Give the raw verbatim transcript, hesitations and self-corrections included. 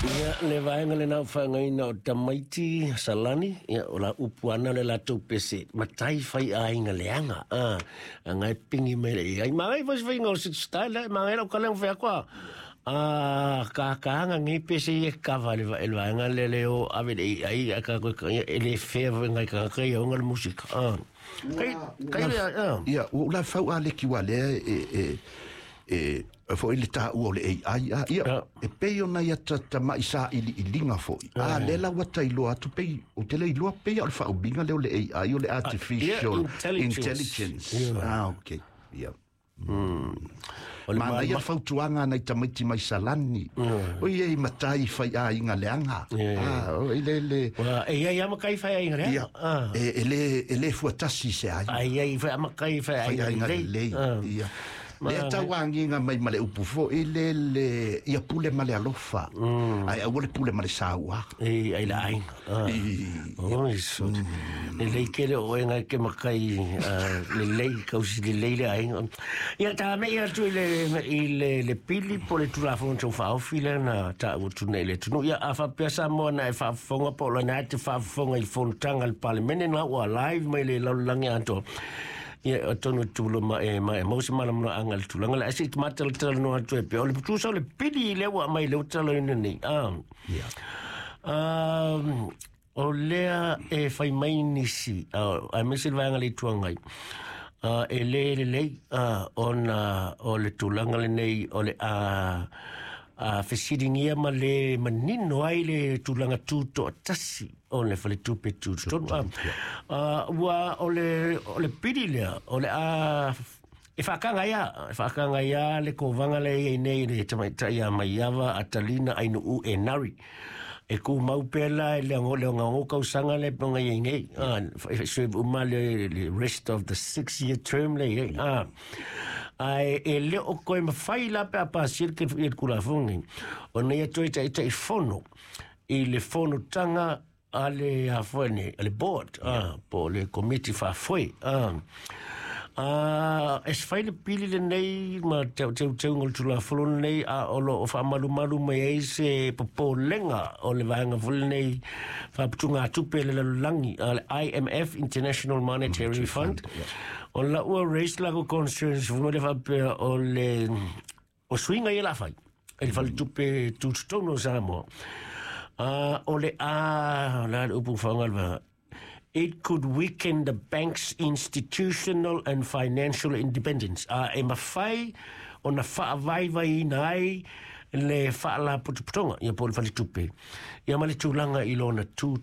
Ia, le vaega lena o faagaina o tamaiti Salani, ia, o la upu ana le latou pese, matai fai aiga leaga, a, anga e pingi mai le ai. Magai foi se faiga o se style, magai lau kalenga fai akua, a kakanga ngi pese i kava le le vaega le le o ave le ai a ka ko e le fea foi ngai ka ka ia le musika. Ah. Kai kai le ah. Ia, ua la fau a le ki wa le e e e foi le taua o le A I a ia e pei ona ia ta tama'i saʻiliʻiliga foʻi a lea la ua tailoa atu pei o te le iloa pei o le faaumiga lea o le A I, o le artificial intelligence. Ah, okay, ia. Manaia fautuaga nai tamaiti mai Salani o ia i matai fai aiga leaga ah o ile le E ia ia makai fai aiga leaga. E e le e le fuatasi se ai. Ai ai fai makai fai aiga lelei ia lea tauagiga mai ma le upu foʻi le le ia pule ma le alofa ae aua le pule ma le sauaga. E ai la aiga. Oi so. Lelei kele o enga ke makai lelei kausi lelei le aiga. Ia ta me ia tu i le i le le pili po le Tulafono Tau Faaofi le na taua atu nei le atunuu. Ia a faapea Samoa na e faafofoga po o lana te faafofoga i fonotaga a le Palemene na ua live mai le lalolagi atoa. Ia atonu tulo ma e ma e mau se malamalamaga le tulaga le ae se i tamatalatala atu e pea o le tusa o le pili lea ua aumai le ua nei. Ah. Ia. Um, o lea e fai mai nisi, uh, aemaise le vaega le Itu Agai, uh, e lē lelei uh, ona o le tulaga lenei o le a a fesiligia ma le manino ai le tulaga tutoatasi o le faletupe tutotonu. uh, ua o le o le pili lea o le a e whaakanga ia, e whaakanga ia le kovanga le ia nei le tamaitai a Maiava Atalina Ainuu Enari. E ku mau pela e le ngo le ngo kausanga le ponga ia nei. Ah, serve uma le, le rest of the six year term le ia. Ah. Ai e le o koe mawhai la pe a pasir ke i kulafongi. O nei toi tai tai fono i le fonotaga a le afoene, a le board, ah, po le komiti faafoe. Ah. Ah, e se fai le pili lenei ma teu teu teu ngol tulafono lenei a o lo o faamalumalu mai ai se popolega o le vaega foi lenei faaputugatupe le lalolagi a le I M F, International Monetary Fund, o la ua raise la ko concerns foi le faapea o le o suiga ia la fai e le faletupe tutotonu o Samoa. Uh, o le a la le upu faaaoga, it could weaken the bank's institutional and financial independence. Uh, e mafai ona faavaivaiina ai le faalapotopotoga ia po o le faletupe ia ma le tulaga i lona tu.